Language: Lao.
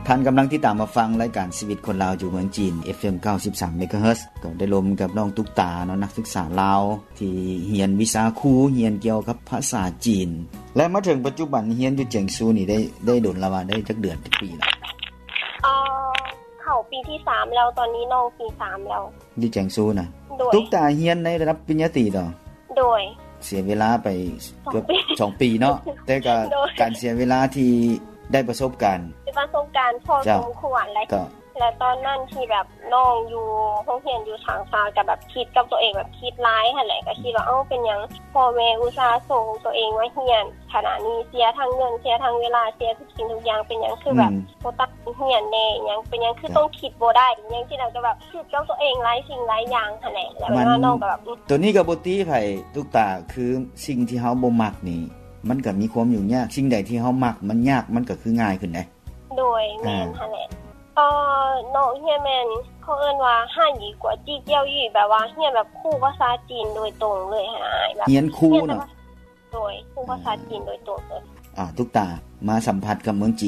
ທ່ານກຳລັງຕິດຕາມຮັບຟັງລາຍການຊີວິດຄົນລາວຢູ່ເມືອງຈີນ ເອັຟເອັມ ເກົ້າສິບສາມ ເມກາເຮີດ ກໍໄດ້ລົມກັບນ້ອງຕຸກຕາເນາະ ນັກສຶກສາລາວທີ່ຮຽນວິຊາຄູ ຮຽນກ່ຽວກັບພາສາຈີນ ແລະ ມາເຖິງປັດຈຸບັນຮຽນຢູ່ຈຽງຊູນີ້ໄດ້ ໄດ້ດົນລະຫວາ? ໄດ້ຈັກເດືອນ ຈັກປີລະ? ເອີ ເຂົ້າປີທີສາມແລ້ວ ຕອນນີ້ນ້ອງປີສາມແລ້ວ ຢູ່ຈຽງຊູນະ. ໂດຍ. ຕຸກຕາຮຽນໃນລະດັບປະລິນຍາຕີບໍ? ໂດຍ. ເສຍເວລາໄປເກືອບສອງປີເນາະ ແຕ່ກໍ ໂດຍ ການເສຍເວລາທີ່ໄດ້ປະສົບການ ເປັນປະສົບການພໍສົມຄວນ ແລະ ແລະຕອນນັ້ນທີ່ແບບນ້ອງຢູ່ໂຮງຮຽນຢູ່ທາງຊານ ກໍແບບຄິດກັບຕົວເອງ ແບບຄິດຫຼາຍຫັ້ນແຫຼະ ກໍຄິດວ່າ ເອົ້າ ເປັນຫຍັງພໍ່ແມ່ອຸດສ່າສົ່ງຕົວເອງມາຮຽນຂະໜາດນີ້ ເສຍທັງເງິນ ເສຍທັງເວລາ ເສຍທຸກສິ່ງທຸກຢ່າງ ເປັນຫຍັງຄືແບບ ອືມ ບໍ່ຕັ້ງໃຈຮຽນແດ່ ອີຫຍັງ ເປັນຫຍັງຄື ແມ່ນ ຕ້ອງຄິດບໍ່ໄດ້ ອີຫຍັງຊີ້ນະ ກໍແບບຄິດກັບຕົວເອງຫຼາຍສິ່ງຫຼາຍຢ່າງຫັ້ນແຫຼະ ແລ້ວ ແມ່ນ ວ່ານ້ອງກໍແບບ ອືມ ໂຕນີ້ກໍບໍ່ຕິໃຜ ຕຸກຕາ ຄືສິ່ງທີ່ເຮົາບໍ່ມັກນີ້ ມັນກໍມີຄວາມຫຍຸ້ງຍາກ ສິ່ງໃດທີ່ເຮົາມັກມັນຍາກ ມັນກໍຄືງ່າຍຂຶ້ນເດ້. ໂດຍ. ແມ່ນ ອ່າ ຫັ້ນແຫຼະ ເອີ ນ້ອງຮຽນແມ່ນ ເຂົາເອີ້ນວ່າ 汉语国际教育 ແບບວ່າຮຽນແບບຄູພາສາຈີນໂດຍຕົງເລີຍຫັ້ນນະ ແບບຮຽນຄູເນາະ. ໂດຍ ຄູພາສາຈີນໂດຍຕົງເລີຍ. ອ່າ ຕຸກຕາ ມາສຳຜັດກັບເມືອງຈີນ